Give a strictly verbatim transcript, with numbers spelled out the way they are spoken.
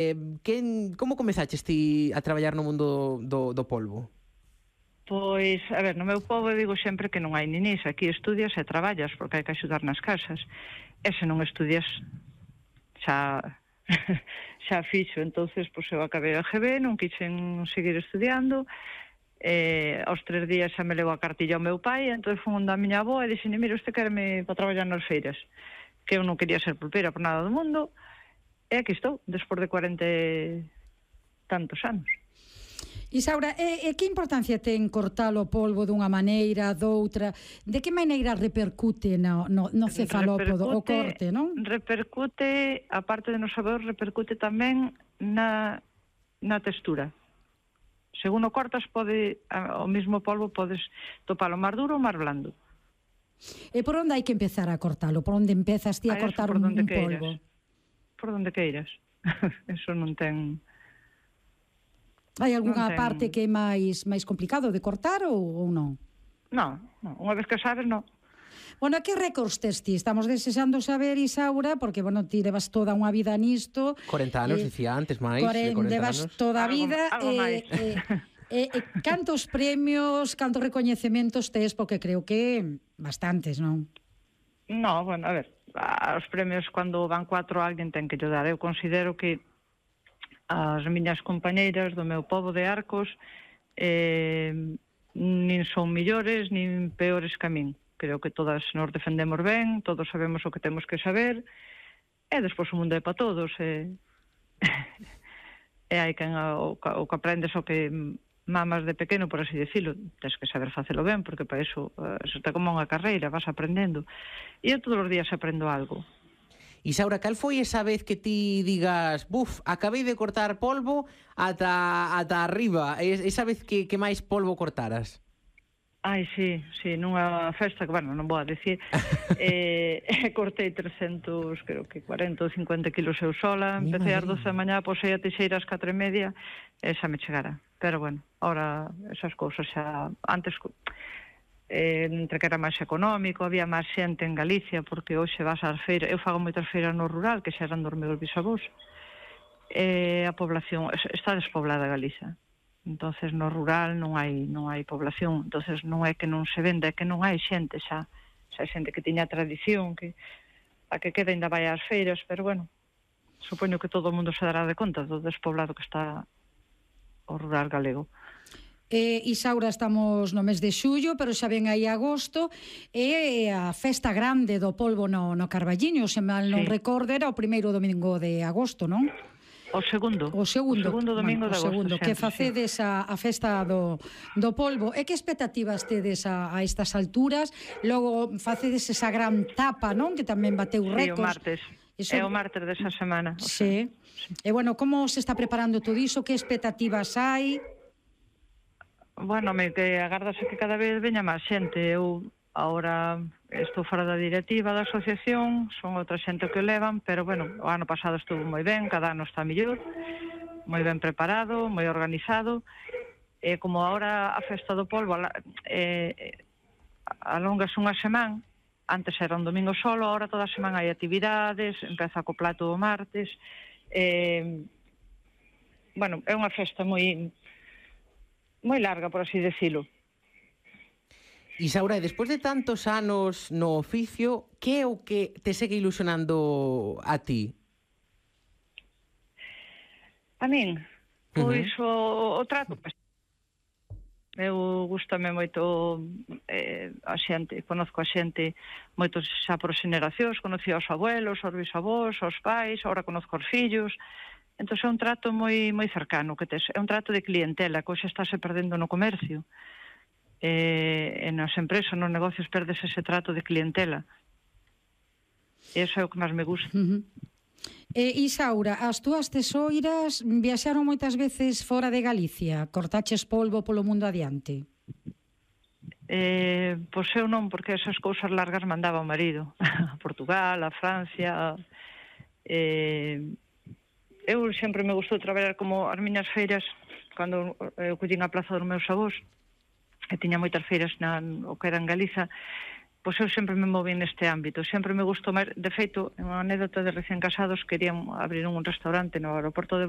Eh, quen, como comezaches ti a traballar no mundo do, do polvo? Pois, a ver, no meu pobo digo sempre que non hai ninís. Aquí estudias e traballas porque hai que axudar nas casas. E se non estudias, xa xa fixo. Entonces, pois eu acabei a G B, non quixen seguir estudiando. Eh, aos tres días xa me levou a cartilla ao meu pai, entón fun onde a miña avó e dixen, mira, este quereme para traballar nas feiras, que eu non quería ser pulpeira por nada do mundo, e aquí estou, despois de cuarenta e tantos anos. Isaura, e, e que importancia ten cortar o polvo dunha maneira, doutra? De que maneira repercute no, no, no cefalópodo o corte, non? Repercute, a parte de no sabor, repercute tamén na, na textura. Según o cortas, pode, o mesmo polvo podes topalo máis duro ou máis blando. E por onde hai que empezar a cortalo? Por onde empezas ti a cortar un, un polvo? Por onde queiras. Eso non ten... Hai algunha ten... parte que é máis máis complicado de cortar ou, ou non? Non, non. Unha vez que sabes, non. Bueno, que récords tes ti? Estamos desexando saber, Isaura, porque, bueno, ti levas toda unha vida nisto. corenta anos, eh, dicía antes, máis de corenta levas anos. toda a vida. Algo, algo máis. Eh, eh, eh, cantos premios, cantos recoñecementos tes? Porque creo que bastantes, non? No, bueno, a ver, os premios cando van cuatro alguén ten que lle dar. Eu considero que as miñas compañeiras do meu pobo de Arcos eh, nin son millores nin peores que a min. Creo que todas nos defendemos ben, todos sabemos o que temos que saber, e despois o mundo é para todos, e, e hai quen o, o que aprendes o que mamas de pequeno, por así decirlo, tens que saber facelo ben, porque para iso, eso está como unha carreira, vas aprendendo. E eu todos os días aprendo algo. Isaura, cal foi esa vez que ti digas, buf, acabei de cortar polvo ata, ata arriba, esa vez que, que máis polvo cortaras? Ai, sí, sí, nunha festa que, bueno, non vou a dicir, eh, cortei trescentos, creo que cuarenta ou cincuenta kilos eu sola, empecé ás doce da mañá, posei a teixeira ás catro e media, e xa me chegara. Pero, bueno, ahora esas cousas xa, antes, eh, entre que era máis económico, había máis xente en Galicia, porque hoxe vas ás feiras, eu fago moitas feiras no rural, que xa eran dos meus bisavós, e a población, está despoblada Galicia. Entonces no rural non hai non hai población, entonces non é que non se venda, é que non hai xente xa, xa hai xente que tiña tradición, que a que queda ainda vai ás feiras, pero bueno, supoño que todo o mundo se dará de conta do despoblado que está o rural galego. Eh, Isaura, estamos no mes de xullo, pero xa ven aí agosto, e a festa grande do polvo no, no Carballiño, se mal non sí. recordo, era o primeiro domingo de agosto, non? O segundo. O segundo. O segundo domingo bueno, de agosto. Segundo, sempre, que facedes sí. a, a festa do, do polvo. E que expectativas tedes a, a estas alturas? Logo facedes esa gran tapa, non? Que tamén bateu récords. Sí, o martes. Eso... É o martes desa semana. Sí. Sea. E bueno, como se está preparando todo iso? Que expectativas hai? Bueno, me que agardase que cada vez veña máis xente. Eu agora estou fora da directiva da asociación, son outra xente que o levan, pero, bueno, o ano pasado estuvo moi ben, cada ano está mellor, moi ben preparado, moi organizado, e como agora a festa do polvo eh, alongas unha semana, antes era un domingo solo, agora toda a semana hai actividades, empeza co plato o martes, eh, bueno, é unha festa moi moi larga, por así decirlo. Isaura, despois de tantos anos no oficio, que é o que te segue ilusionando a ti? A min? Pois uh -huh. o, o trato. Eu gustame moito eh, a xente, conozco a xente moitos xa por xeneracións, conocí aos abuelos, aos bisavós, aos pais, agora conozco os fillos. Entón é un trato moi moi cercano que tes, é un trato de clientela, que hoxe estáse perdendo no comercio. Eh, e nas empresas, nos negocios perdes ese trato de clientela, e iso é o que máis me gusta. uh -huh. E Isaura, as túas tesoiras viaxaron moitas veces fora de Galicia, cortaches polvo polo mundo adiante? Eh, pois eu non, porque esas cousas largas mandaba o marido a Portugal, a Francia. eh, eu sempre me gustou traballar como as miñas feiras, cando eu collín a plaza dos meus avós, e tiña moitas feiras na, o que era en Galiza, pois eu sempre me movi neste ámbito, sempre me gustou máis, de feito, en unha anécdota de recén casados, querían abrir un restaurante no aeroporto de Barajas,